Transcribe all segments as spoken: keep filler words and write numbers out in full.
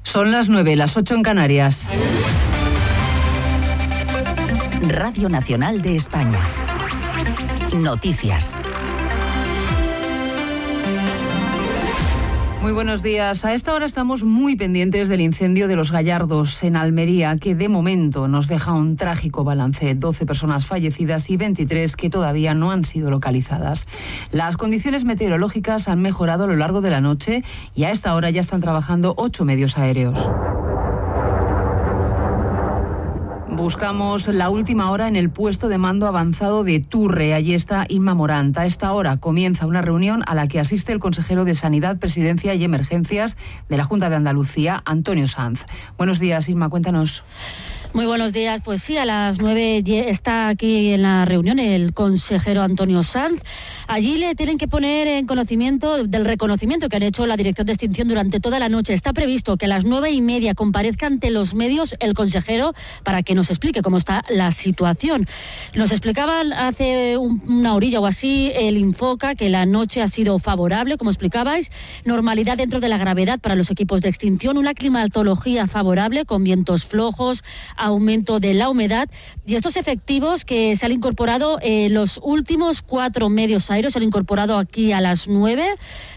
Son las nueve, las ocho en Canarias. Radio Nacional de España. Noticias. Muy buenos días. A esta hora estamos muy pendientes del incendio de Los Gallardos en Almería, que de momento nos deja un trágico balance: doce personas fallecidas y veintitrés que todavía no han sido localizadas. Las condiciones meteorológicas han mejorado a lo largo de la noche y a esta hora ya están trabajando ocho medios aéreos. Buscamos la última hora en el puesto de mando avanzado de Turre. Allí está Inma Morant. A esta hora comienza una reunión a la que asiste el consejero de Sanidad, Presidencia y Emergencias de la Junta de Andalucía, Antonio Sanz. Buenos días, Inma, cuéntanos. Muy buenos días. Pues sí, a las nueve está aquí en la reunión el consejero Antonio Sanz. Allí le tienen que poner en conocimiento del reconocimiento que han hecho la Dirección de Extinción durante toda la noche. Está previsto que a las nueve y media comparezca ante los medios el consejero para que nos explique cómo está la situación. Nos explicaban hace un, una orilla o así el Infoca que la noche ha sido favorable, como explicabais, normalidad dentro de la gravedad para los equipos de extinción, una climatología favorable con vientos flojos, aumento de la humedad y estos efectivos que se han incorporado, eh, los últimos cuatro medios aéreos se han incorporado aquí a las nueve,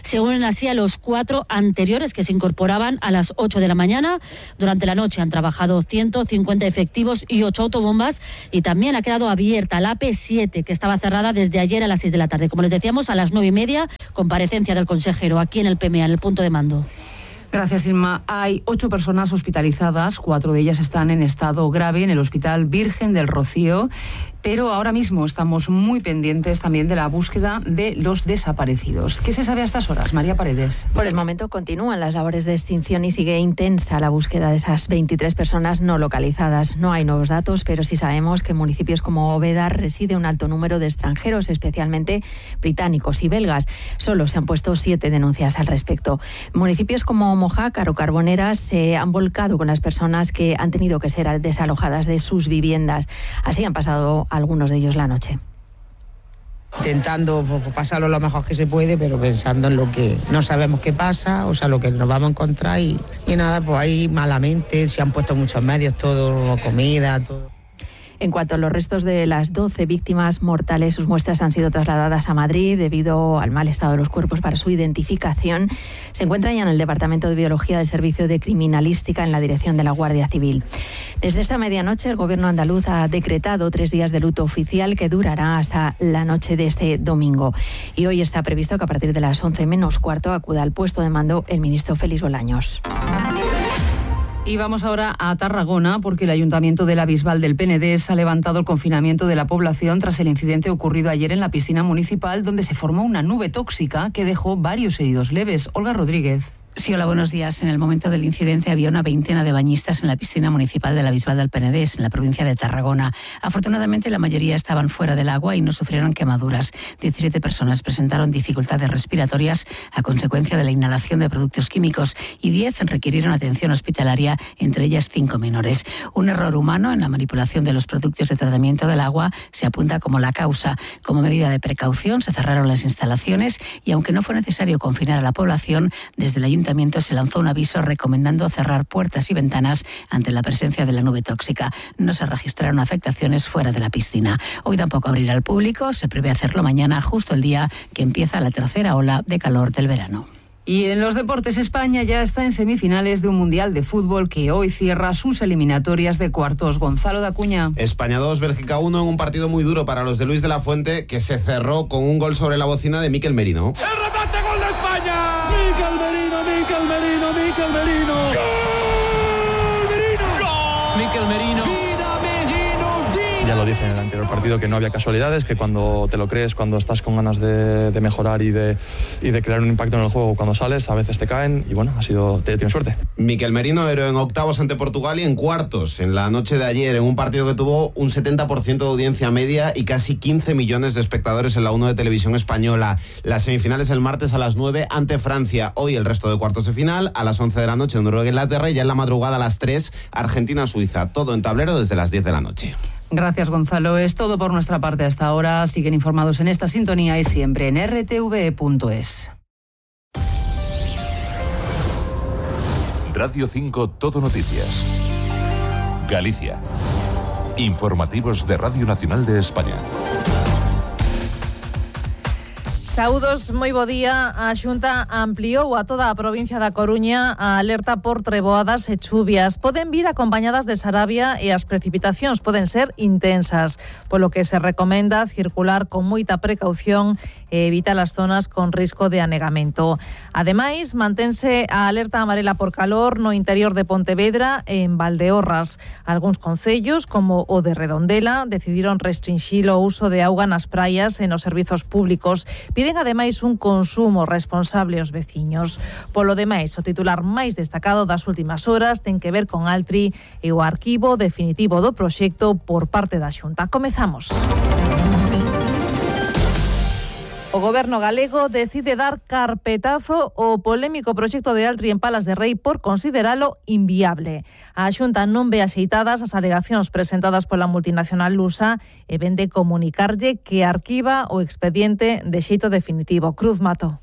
se unen así a los cuatro anteriores que se incorporaban a las ocho de la mañana. Durante la noche han trabajado ciento cincuenta efectivos y ocho autobombas y también ha quedado abierta la A P siete que estaba cerrada desde ayer a las seis de la tarde. Como les decíamos, a las nueve y media, comparecencia del consejero aquí en el P M A, en el punto de mando. Gracias, Inma. Hay ocho personas hospitalizadas, cuatro de ellas están en estado grave en el Hospital Virgen del Rocío, pero ahora mismo estamos muy pendientes también de la búsqueda de los desaparecidos. ¿Qué se sabe a estas horas, María Paredes? Por el momento continúan las labores de extinción y sigue intensa la búsqueda de esas veintitrés personas no localizadas. No hay nuevos datos, pero sí sabemos que en municipios como Úbeda reside un alto número de extranjeros, especialmente británicos y belgas. Solo se han puesto siete denuncias al respecto. Municipios como Mojácar o Carboneras se han volcado con las personas que han tenido que ser desalojadas de sus viviendas. Así han pasado algunos de ellos la noche. Intentando pasarlo lo mejor que se puede, pero pensando en lo que no sabemos qué pasa, o sea, lo que nos vamos a encontrar y, y nada, pues ahí malamente se han puesto muchos medios, todo, comida, todo. En cuanto a los restos de las doce víctimas mortales, sus muestras han sido trasladadas a Madrid debido al mal estado de los cuerpos para su identificación. Se encuentran ya en el Departamento de Biología del Servicio de Criminalística en la dirección de la Guardia Civil. Desde esta medianoche, el Gobierno andaluz ha decretado tres días de luto oficial que durará hasta la noche de este domingo. Y hoy está previsto que a partir de las once menos cuarto acuda al puesto de mando el ministro Félix Bolaños. Y vamos ahora a Tarragona, porque el Ayuntamiento de la Bisbal del Penedés ha levantado el confinamiento de la población tras el incidente ocurrido ayer en la piscina municipal, donde se formó una nube tóxica que dejó varios heridos leves. Olga Rodríguez. Sí, hola, buenos días. En el momento del incidente había una veintena de bañistas en la piscina municipal de la Bisbal del Penedés, en la provincia de Tarragona. Afortunadamente, la mayoría estaban fuera del agua y no sufrieron quemaduras. diecisiete personas presentaron dificultades respiratorias a consecuencia de la inhalación de productos químicos y diez requirieron atención hospitalaria, entre ellas cinco menores. Un error humano en la manipulación de los productos de tratamiento del agua se apunta como la causa. Como medida de precaución, se cerraron las instalaciones y, aunque no fue necesario confinar a la población, desde el Ayuntamiento se lanzó un aviso recomendando cerrar puertas y ventanas ante la presencia de la nube tóxica. No se registraron afectaciones fuera de la piscina. Hoy tampoco abrirá al público, se prevé hacerlo mañana, justo el día que empieza la tercera ola de calor del verano. Y en los deportes, España ya está en semifinales de un Mundial de Fútbol que hoy cierra sus eliminatorias de cuartos. Gonzalo de Acuña. España dos, Bélgica uno en un partido muy duro para los de Luis de la Fuente, que se cerró con un gol sobre la bocina de Mikel Merino. ¡El remate, gol de España! ¡Mikel Merino, Mikel Merino, Mikel Merino! ¡Gol! ¡Merino! ¡Gol! Mikel Merino. Ya lo dije en el anterior partido, que no había casualidades, que cuando te lo crees, cuando estás con ganas de, de mejorar y de, y de crear un impacto en el juego, cuando sales, a veces te caen y bueno, ha sido, te, tienes suerte. Mikel Merino héroe en octavos ante Portugal y en cuartos en la noche de ayer, en un partido que tuvo un setenta por ciento de audiencia media y casi quince millones de espectadores en la uno de Televisión Española. Las semifinales el martes a las nueve ante Francia. Hoy el resto de cuartos de final, a las once de la noche en Noruega e Inglaterra, y ya en la madrugada a las tres Argentina-Suiza. Todo en tablero desde las diez de la noche. Gracias, Gonzalo. Es todo por nuestra parte hasta ahora. Siguen informados en esta sintonía y siempre en r t v punto es. Radio cinco Todo Noticias. Galicia. Informativos de Radio Nacional de España. Saúdos, moi bo día. A Xunta ampliou a toda a provincia da Coruña a alerta por treboadas e chuvias. Poden vir acompañadas de sarabia e as precipitacións poden ser intensas, polo que se recomenda circular con moita precaución e evitar as zonas con risco de anegamento. Ademais, mantense a alerta amarela por calor no interior de Pontevedra e en Valdeorras. Algúns concellos, como o de Redondela, decidiron restringir o uso de auga nas praias e nos servizos públicos. Piden ademais un consumo responsable aos veciños. Polo demais, o titular máis destacado das últimas horas ten que ver con Altri e o arquivo definitivo do proxecto por parte da Xunta. Comezamos. O Goberno galego decide dar carpetazo ao polémico proxecto de Altri en Palas de Rei por consideralo inviable. A Xunta non ve axeitadas as alegacións presentadas pola multinacional lusa e vende comunicarlle que arquiva o expediente de xeito definitivo. Cruz Mato.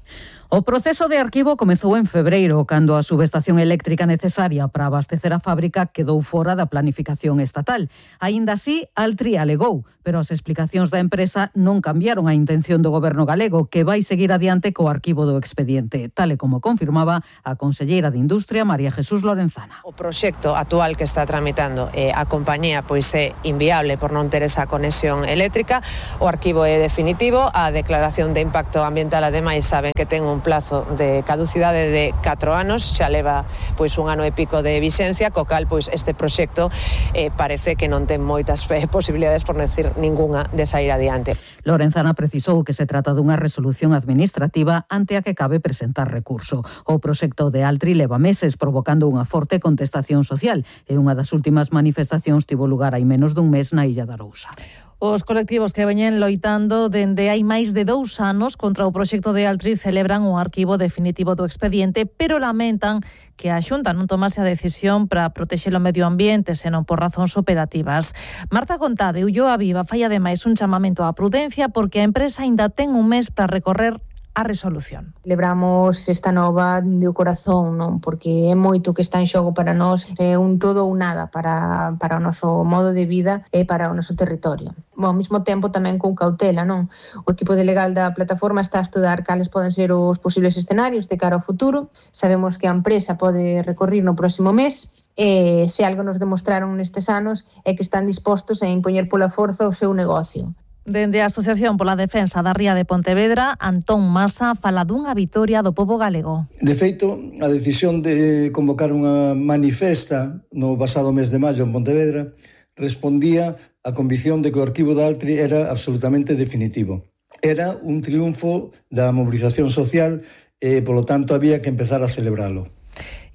O proceso de arquivo comezou en febreiro, cando a subestación eléctrica necesaria para abastecer a fábrica quedou fora da planificación estatal. Aínda así, Altri alegou, pero as explicacións da empresa non cambiaron a intención do Goberno galego, que vai seguir adiante co arquivo do expediente, tal e como confirmaba a conselleira de Industria, María Jesús Lorenzana. O proxecto actual que está tramitando eh, a compañía pois é inviable por non ter esa conexión eléctrica. O arquivo é definitivo, a declaración de impacto ambiental ademais saben que ten un plazo de caducidade de catro anos, xa leva pois un ano e pico de vixencia, co cal pois este proxecto eh, parece que non ten moitas eh, posibilidades, por non decir ningunha, de sair adiante. Lorenzana precisou que se trata dunha resolución administrativa ante a que cabe presentar recurso. O proxecto de Altri leva meses provocando unha forte contestación social e unha das últimas manifestacións tivo lugar hai menos dun mes na Illa da Arousa. Os colectivos que veñen loitando dende hai máis de dous anos contra o proxecto de Altri celebran o arquivo definitivo do expediente, pero lamentan que a Xunta non tomase a decisión para protexer o medio ambiente, senón por razóns operativas. Marta Gontade, Ulloa Viva, fai ademais un chamamento á prudencia porque a empresa aínda ten un mes para recorrer a resolución. Celebramos esta nova de corazón, non? Porque é moito que está en xogo para nós, é un todo ou nada para, para o noso modo de vida e para o noso territorio. Bom, ao mesmo tempo tamén con cautela, non? O equipo de legal da plataforma está a estudar cales poden ser os posibles escenarios de cara ao futuro. Sabemos que a empresa pode recorrer no próximo mes e se algo nos demostraron nestes anos é que están dispostos a impoñer pola forza o seu negocio. Dende a Asociación pola Defensa da Ría de Pontevedra, Antón Masa fala dunha vitoria do pobo galego. De feito, a decisión de convocar unha manifesta no pasado mes de maio en Pontevedra respondía á convicción de que o arquivo de Altri era absolutamente definitivo. Era un triunfo da mobilización social e, polo tanto, había que empezar a celebralo.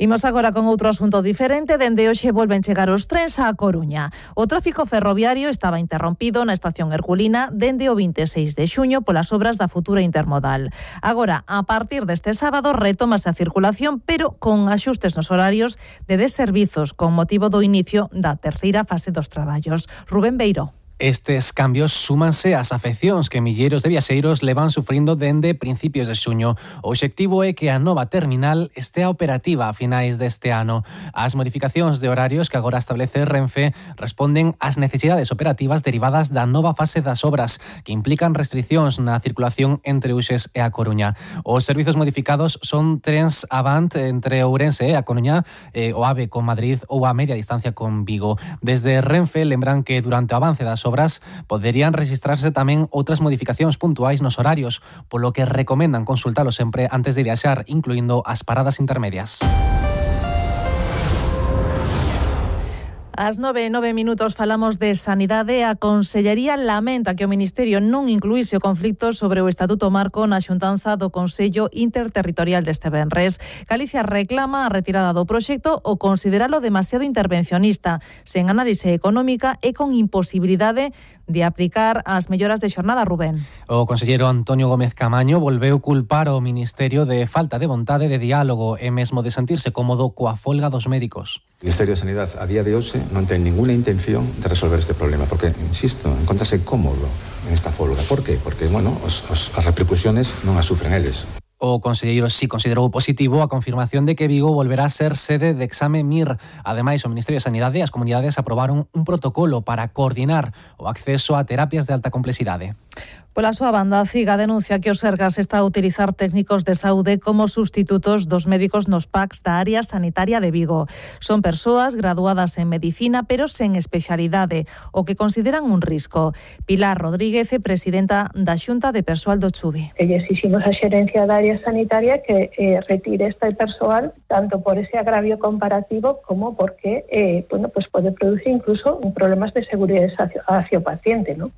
Imos agora con outro asunto diferente. Dende hoxe volven chegar os trens á Coruña. O tráfico ferroviario estaba interrompido na estación Herculina dende o vinte e seis de xuño polas obras da futura intermodal. Agora, a partir deste sábado, retómase a circulación, pero con axustes nos horarios de deservizos con motivo do inicio da terceira fase dos traballos. Rubén Beiró. Estes cambios súmanse ás afeccións que milleiros de viaxeiros levan sufrindo dende principios de xuño. O obxectivo é que a nova terminal estea operativa a finais deste ano. As modificacións de horarios que agora establece Renfe responden ás necesidades operativas derivadas da nova fase das obras, que implican restriccións na circulación entre Uxes e a Coruña. Os servizos modificados son trens Avant entre Ourense e a Coruña, e o AVE con Madrid ou a media distancia con Vigo. Desde Renfe lembran que durante o avance das obras obras poderían registrarse tamén outras modificacións puntuais nos horarios, polo que recomendan consultalo sempre antes de viaxar, incluindo as paradas intermedias. Ás nove e nove minutos falamos de sanidade. A Consellería lamenta que o Ministerio non incluíse o conflicto sobre o Estatuto Marco na xuntanza do Consello Interterritorial deste venres. Galicia reclama a retirada do proxecto ou consideralo demasiado intervencionista, sen análise económica e con imposibilidade de aplicar as melloras de xornada. Rubén. O conselleiro Antonio Gómez Camaño volveu culpar ao Ministerio de falta de vontade de diálogo e mesmo de sentirse cómodo coa folga dos médicos. O Ministerio de Sanidade a día de hoxe non ten ninguna intención de resolver este problema, porque, insisto, encontrase cómodo en esta folga. Por qué? Porque, bueno, os, os, as repercusiones non as sufren eles. O conselleiro si considerou positivo a confirmación de que Vigo volverá a ser sede de exame M I R. Ademais, o Ministerio de Sanidade e as comunidades aprobaron un protocolo para coordinar o acceso a terapias de alta complexidade. Pola súa banda, a CIGA denuncia que o Sergas está a utilizar técnicos de saúde como sustitutos dos médicos nos P A Cs da área sanitaria de Vigo. Son persoas graduadas en medicina, pero sen especialidade, o que consideran un risco. Pilar Rodríguez, presidenta da Xunta de Persoal do Chubi. Que lle exiximos a xerencia da área sanitaria que eh, retire este persoal, tanto por ese agravio comparativo como porque eh, bueno, pues pode producir incluso problemas de seguridade hacia o paciente, ¿no?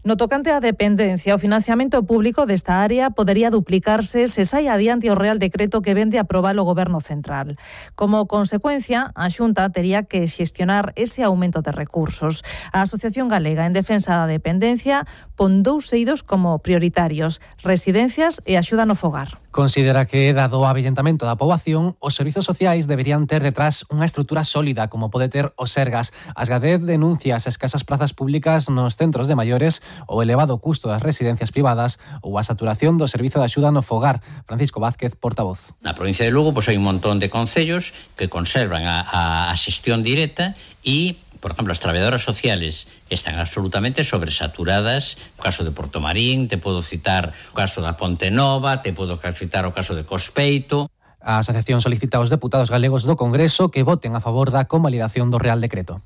No tocante á dependencia, o financiamento público desta área podería duplicarse se sai adiante o Real Decreto que vende aprobar o Goberno Central. Como consecuencia, a Xunta tería que xestionar ese aumento de recursos. A Asociación Galega en Defensa da Dependencia pon dous eidos como prioritarios: residencias e axuda no fogar. Considera que, dado o avellentamento da poboación, os servizos sociais deberían ter detrás unha estrutura sólida como pode ter o Sergas. Asgadez denuncia as escasas plazas públicas nos centros de maiores, o elevado custo das residencias privadas ou a saturación do servizo de axuda no fogar. Francisco Vázquez, portavoz. Na provincia de Lugo pois hai un montón de concellos que conservan a, a, a xestión directa e, por exemplo, as traballadoras sociales están absolutamente sobresaturadas. O caso de Portomarín, te podo citar o caso da Ponte Nova, te podo citar o caso de Cospeito. A asociación solicita aos deputados galegos do Congreso que voten a favor da convalidación do Real Decreto.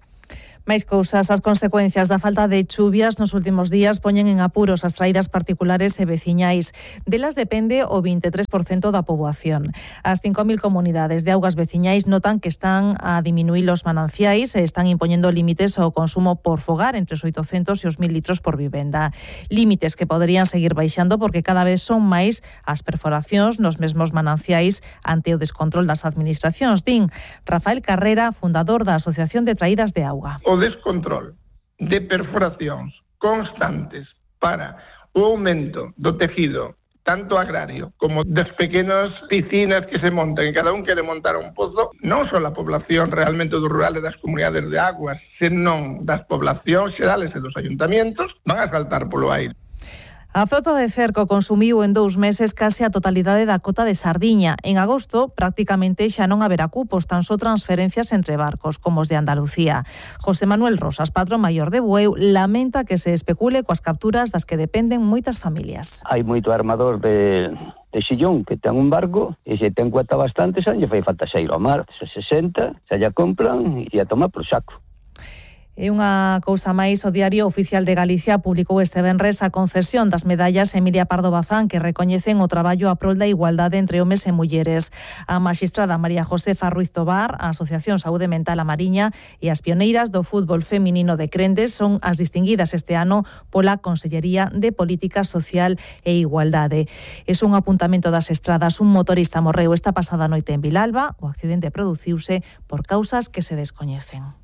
Máis cousas, as consecuencias da falta de chuvias nos últimos días poñen en apuros as traídas particulares e veciñais. Delas depende o vinte e tres por cento da poboación. As cinco mil comunidades de augas veciñais notan que están a diminuir os mananciais e están impoñendo límites ao consumo por fogar entre os oitocentos e os mil litros por vivenda. Límites que poderían seguir baixando porque cada vez son máis as perforacións nos mesmos mananciais ante o descontrol das administracións. Din Rafael Carrera, fundador da Asociación de Traídas de Auga. O descontrol de perforacións constantes para o aumento do tejido tanto agrario como das pequenas piscinas que se montan, e cada un quere montar un pozo, non só a población realmente do rural e das comunidades de aguas, senón das poblacións xerales e dos ayuntamientos, van a saltar polo aire. A frota de cerco consumiu en dous meses case a totalidade da cota de sardiña. En agosto, prácticamente xa non haberá cupos, tan só transferencias entre barcos, como os de Andalucía. José Manuel Rosas, patrón maior de Bueu, lamenta que se especule coas capturas das que dependen moitas familias. Hai moito armador de... de Sillón, que ten un barco, e se ten cuota bastante, xa lle fai falta xa ir ao mar, se sesenta, xa lla compran e a tomar por saco. E unha cousa máis, o Diario Oficial de Galicia publicou este venres a concesión das medallas Emilia Pardo Bazán que recoñecen o traballo a prol da igualdade entre homes e mulleres. A maxistrada María Josefa Ruiz Tobar, a Asociación Saúde Mental A Mariña e as pioneiras do fútbol feminino de Crendes son as distinguidas este ano pola Consellería de Política Social e Igualdade. É un apuntamento das estradas. Un motorista morreu esta pasada noite en Vilalba. O accidente produciuse por causas que se descoñecen.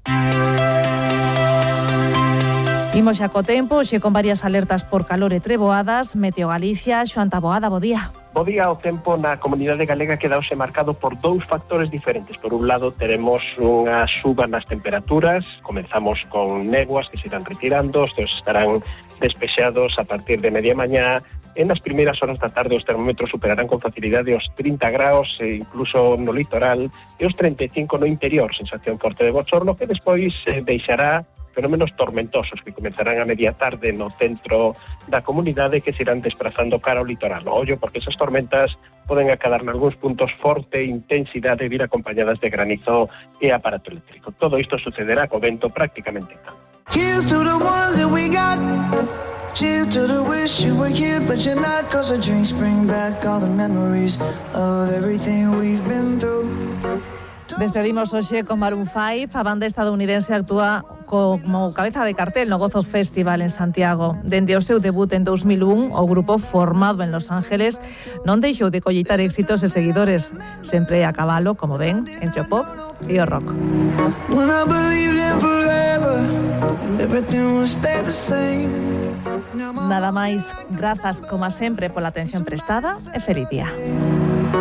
Imos xa co tempo, xe con varias alertas por calor e treboadas. Meteo Galicia, Xoán Taboada, bo día. Bo día, o tempo na comunidade galega quedouse marcado por dous factores diferentes. Por un lado, teremos unha suba nas temperaturas, comenzamos con néboas que se irán retirando, estos estarán despexados a partir de media mañá. En as primeiras horas da tarde os termómetros superarán con facilidade os trinta graus e incluso no litoral e os trinta e cinco no interior, sensación forte de bochorno que despois eh, deixará fenómenos tormentosos que comenzarán a media tarde no centro da comunidade que se irán desplazando cara ao litoral. No ollo, porque esas tormentas poden acadar en algúns puntos forte intensidade e vir acompañadas de granizo e aparato eléctrico. Todo isto sucederá co vento prácticamente calmo. Cheers to the ones that we got. Cheers to the wish you were here but you're not, cause the drinks bring back all the memories of everything we've been through. Despedimos hoxe con Maroon five. A banda estadounidense actúa como cabeza de cartel no Gozo Festival en Santiago. Dende o seu debut en dos mil un, o grupo formado en Los Ángeles non deixou de colleitar éxitos e seguidores, sempre a cabalo, como ven, entre o pop e o rock. Nada máis, grazas como sempre pola atención prestada e feliz día.